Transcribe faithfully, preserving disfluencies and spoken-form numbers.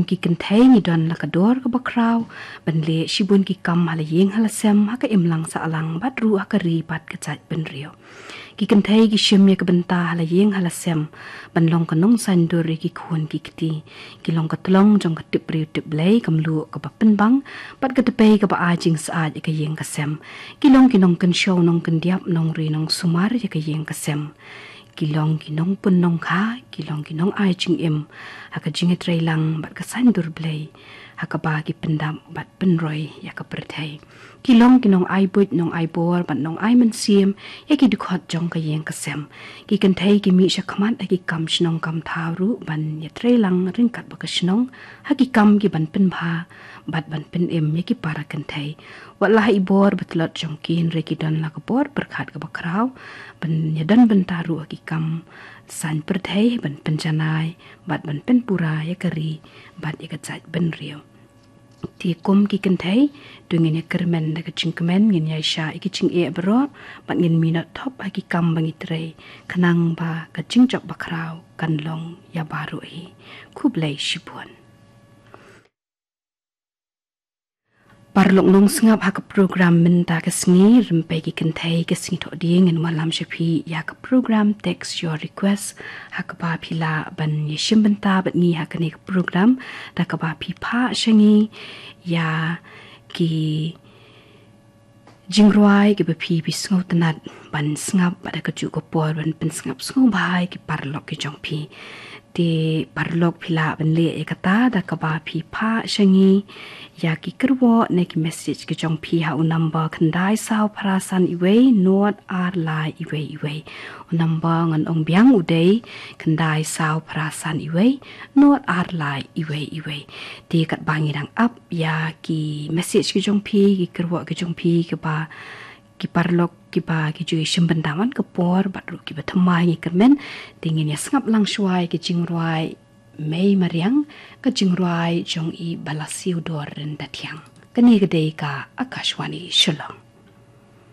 Ki kynthei ngi don la ka dor kaba khraw ban leh shibun ki kam ha la ïing ha la sem, ha ka imlang sahlang bad ruh ha ka ri bad ka jaitbynriew. Ki kynthei ki shim ïa ka bynta ha la ïing ha la sem ban long ka nongsaindur ïa ki khun ki kti. Ki long ka tlong jong ka tip briew tip Blei, ka mluh kaba pynbang bad ka tpei kaba ai jingsaid ïa ka ïing ka sem. Ki long ki nongkynshew nongkyndiap, nongri nongsumar ïa ka ïing ka sem. Ki long ki nongpun nongkha, ki long ki nongai jingim ha ka jingïatreilang bad ka saindur Blei, ha kaba ki pyndap bad pynroi ïa ka pyrthei. Ki long ki nongai buit nongai bor bad nongai mynsiem ïa ki dkhot jong ka ïing ka sem. Ki kynthei ki mih shakhmat ha ki kam shnong kam thaw ruh ban ïatreilang ryngkat bad ka shnong ha ki kam ki ban pynbha bad ban pynim ïa ki para kynthei. Wat la ha i bor ba tlot jong ki, hynrei ki don la ka bor pyrkhat kaba khraw ban ïadon bynta ruh ha ki kam saiñ pyrthei, ban pynjanai bad ban pynpura ïa ka ri bad ïa ka jaitbynriew. Te kum ki kynthei, to ngin ïa kyrmen da ka jingkmen, ngin ïa shah ïa ki jingeh baroh bad ngin minot thop ha ki kam ba ngi trei, khnang ba ka jingjop ba khraw kan long ïa baroh hi. Khublei shibun. Paralok nongsngap, ha ka program mynta ka sngi Rympei ki Kynthei ka sngi Thohdieng, ngin wallam sha phi ïa ka program Text Your Request, ha kaba phi lah ban ïashim bynta bad ngi ha kane ka program da kaba phi phah sha ngi ïa ki jingrwai kiba phi, phi sngewtynnad ban sngap bad ha kajuh ka por ban pynsngap sngewbha ïa ki paralok ki jong phi. Te paralok, phi lah ban leh ïa kata da kaba phi phah sha ngi ïa ki kyrwoh ne ki message ki jong phi ha u number khyndai saw phra san wei wei, nod ar lai wei wei wei. U number ngan ong biang u dei khyndai saw phra san wei wei, nod ar lai wei wei wei. Te katba ngi dang ap ïa ki message ki jong phi, ki kyrwoh ki jong phi, kiba ki paralok kiba ki ju ïashim bynta man ka por bad ruh kiba thymmai, ngi kyrmen, te ngin ïa sngap lang shuwa ïa ka jingrwai Mei Mariang, ka jingrwai jong i Balasiew Dor Ryntathiang. Kane ka dei ka Akashvani Shillong.